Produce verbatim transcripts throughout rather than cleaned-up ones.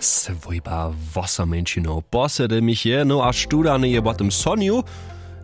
Swójba wosomeńšinow posedymiche, no a študany je po tym sonju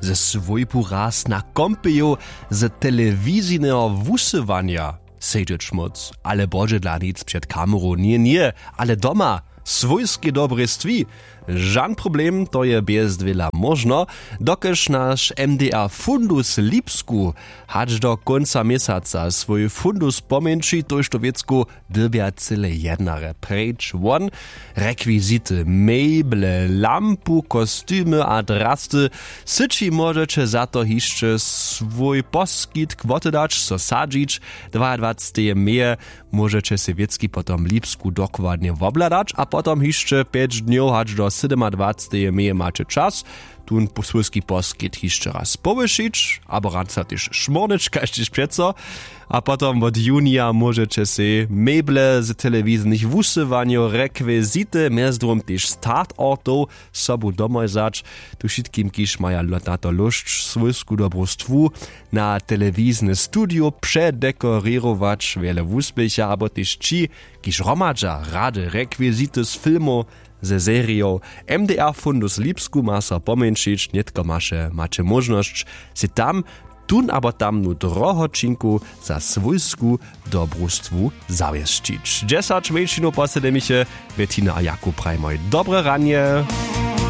ze swójbu raz na kompeju z telewizijneho wusyłanja. Sedźeć móc ale bodźe dla nic před kameru njeje njeje, ale doma swójskej dobrej stwi. Žan problem, to je bjez dwěla móžno, dokelž naš mdr fundus lipsku hač do kónca měsaca swój fundus pomjeńši, tójšto wěcku dyrbja cyle jednarje preč won. Rekwizity, meble, lampu, kostymy a drasty. Syći móžeće za to hišće swój poskitk wotedać, so sadźić. Dwaadwaceteje meje móžeće sej wěcki potom lipsku dokładnje wobhladać a potom hišće pjeć dnjow hač do sydomadwaceteje meje maće čas, tón swójski poskitk hišće raz powyšić abo rance tež šmórnyć kaž tež přeco. A potom wot junija móžeće sej meble z telewizijnych wusyłanjow, rekwizity, mjez druhim tež startortow sobu domoj wzać. Tu wšitkim kiž maja na to lóšć, swójsku dobru stwu na telewizijne studio předekorěrować wjele wuspěcha abo tež ći kiž hromadźa rady, rekwizity z filmow, ze serijow. Mdr fundus lipsku ma so pomjeńšić, nětko maše maće móžnosć sej tam tón abo tamnu drohoćinku za swójsku dobrustwu zawěsćić. Dźesać mjeńšinow posedymiche, Bettina a Jakub prajmoj dobre ranje.